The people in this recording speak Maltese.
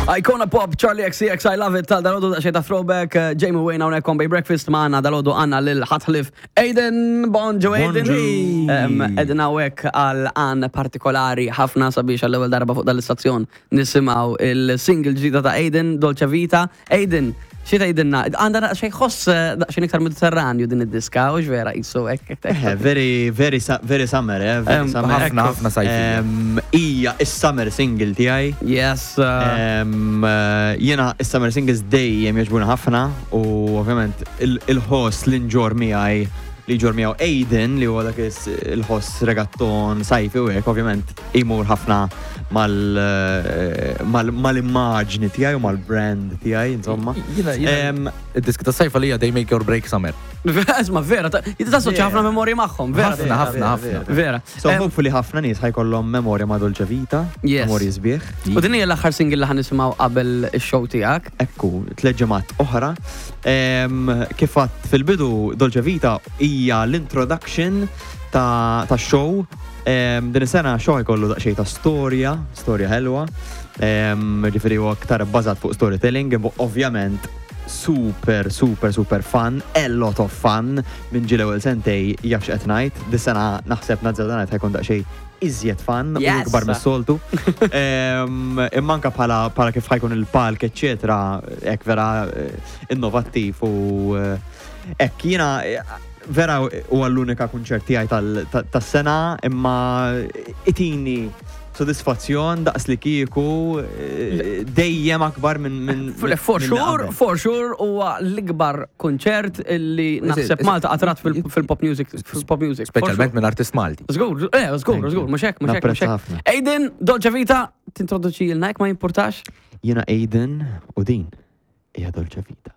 Icona Pop, Charli XCX, I love it, tal dalodu daqxej ta' throwback, eh, Jamie Wayne hawnhekk on Bay Breakfast magħna dalodu għandna lil ħatħlif Aiden, bonġu Aiden. Aiden hawnhekk għal għan partikolari ħafna sabiex għall-ewwel darba fuq dal-istazzjon nisimgħu il-single ġdida ta' Aiden, Dolce Vita. Aiden, xi tgħidilna? Għandha daqsxejn ħoss eh, daqsxejn iktar Mediterranju din id-diska, u vera qisu hekk. Eh, very, very, very summer, eh, very summer. Ħafna, ħafna sajfi. Hija is-summer single tiegħi. Yes. Eh, jiena is-summer singles dejjem jogħġbuni ħafna u ovvjament il-ħoss li nġor miegħi li ġor miegħu Aiden li huwa dak il-ħoss regatton sajfi u hekk ovvjament imur ħafna mal-immaġni tiegħi u mal-brand tiegħi insomma. Jiena id-diski ta' sajfa li hija they make or break summer. Isma' vera, tassoċja ħafna memorji magħhom, vera. Ħafna, ħafna, ħafna. Vera. So hopefully ħafna nies ħajkollhom memorja ma' Dolce Vita, memorji sbieħ. U din hija l-aħħar single li ħa nisimgħu qabel ix-show tiegħek. Ekku, tliet ġimgħat oħra. Kif għadt fil-bidu Dolce Vita hija l-introduction ta' show. Din is-sena show jkollu daqsxejn ta' storja, storja ħelwa. Ġifieri huwa aktar bbażat fuq storytelling, imma ovvjament super, super, super fun, a lot of fun. Minn ġie l-ewwel sentej jaf x'qed ngħid. Dis-sena naħseb nazzarda ngħid ħajkun daqsxejn iżjed fun u ikbar mis-soltu. Imma anke bħala kif ħajkun il-palk, eċċetera, hekk vera innovattiv u hekk jiena vera huwa l-unika kunċert tiegħi tas-sena imma itini sodisfazzjon daqs li kieku dejjem akbar minn For sure, for sure huwa l-ikbar kunċert illi naħseb Malta qatt rat fil-pop music, fil-pop music. Speċjalment minn artist Malti. Żgur, żgur, żgur, mhux hekk, mhux hekk, mhux hekk. Aiden, Dolce Vita, tintroduċi lilna jekk ma jimpurtax? Jiena Aiden u din hija Dolce Vita.